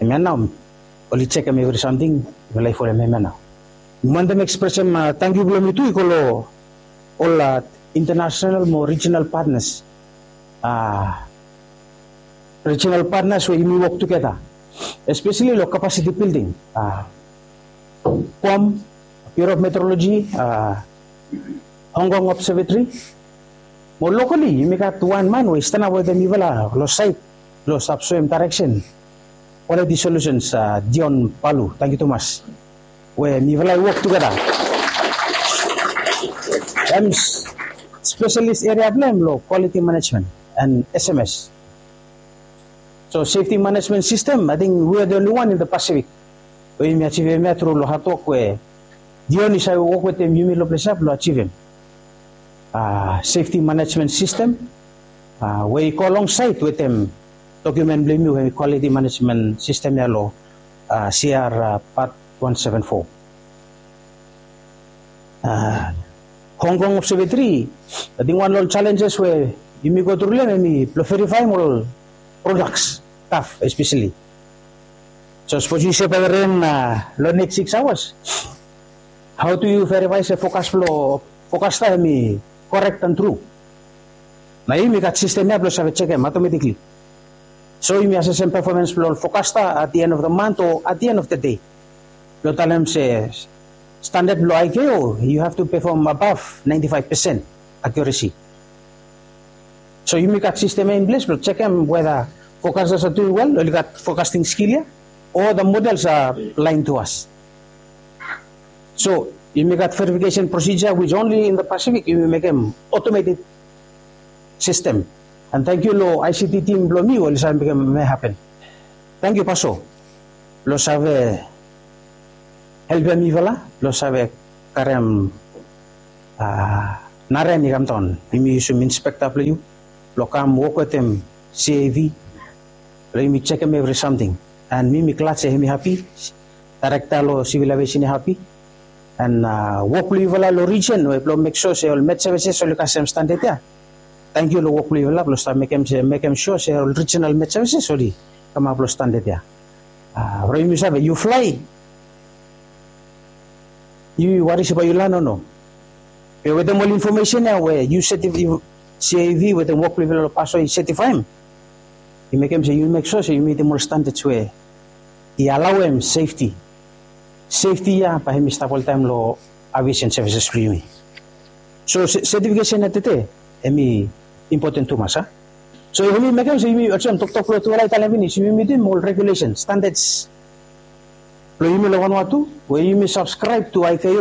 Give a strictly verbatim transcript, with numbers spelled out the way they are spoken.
Hemia nao oli jekem evri samting. Mifala i folem hemia nao. Mi wantem ekspresem tangkiu blong mi tu i go long ol international mo rijinal patnas, rijinal patnas we yumi wok tugeta, espeseli long kapasiti bilding, pom, Bureau of Meteorology, Hong Kong Observatory. Mo lokali yumi gat wan man we i stanap wetem mifala long sait blong stap soem daereksen, Quality Solutions, Dion Palu. Tangkiu tumas we mifala i wok tugeta. Hem spesalis eria blong hem long quality management and S M S. So safety management system, I think we are the only one in the Pacific we yumi ajivim hemia tru long hadwok we Dion i save wok wetem yumi long ples ya blong ajivim safety management system we i go alongsait wetem dokiumen blong yumi we quality management system ya long C R part one seven four. Hong Kong Observatory, ating wan long ol challenges we yumi go tru long hem hemi blong verifaem ol products, taf espeseli. So sapos yu se bae ren long next six hours, hao tu yu verifae se fokas blong fokasta hemi korek an tru? Na yumi gat sistem ya blong save jekem automatically. So yumi asesem performance blong ol fokasta at the end of the month o at the end of the day blong talem se standard blong I K O, you have to perform above ninety five percent accuracy. So yumi gat sistem ya in ples blong jekem weda fokasta sa duing wel, oli gat fokasting skil ya, o the models are lying to us. So yumi gat verification procedure which only in the Pacific yumi mekem automated system. And tangkiu long I C T team blong mi we oli save mekem hemia hapen. Tangkiu Paso blong save helpem mifala blong save karem naren i kamdaon. Yumi yusum inspekta blong yu blong kam wok wetem C A V blong yumi jekem evri samting. And mi mi glad se hemi hapi, daerekta long sivil aviasen i hapi. And wok blong yufala long rijen we blong mek sua se ol met sevises oli kasem standad ya. Tangkiu long wok blong yufala blong stap mekem se mekem sua se ol rijinal met sevises oli kamap long standad ya. From yumi save yu flae, yu wari se bae yu lan o no? Be wetem ol infomesen ya we yu setif, C A V wetem wok blong yufala long Paso i setifaem, i mekem se yu mek sua se yu mitim ol standards we i alaoem sefti. Sefti ya bae hemi stap oltaem long aviation services blong yumi. So setifikesen ya tede hemi impoten tumas a. So hemi mekem se yumi olsem toktok blong tufala i talem finis, yumi mitim ol regulesen, standards blong yumi long Vanuatu we yumi subscribe to I K O.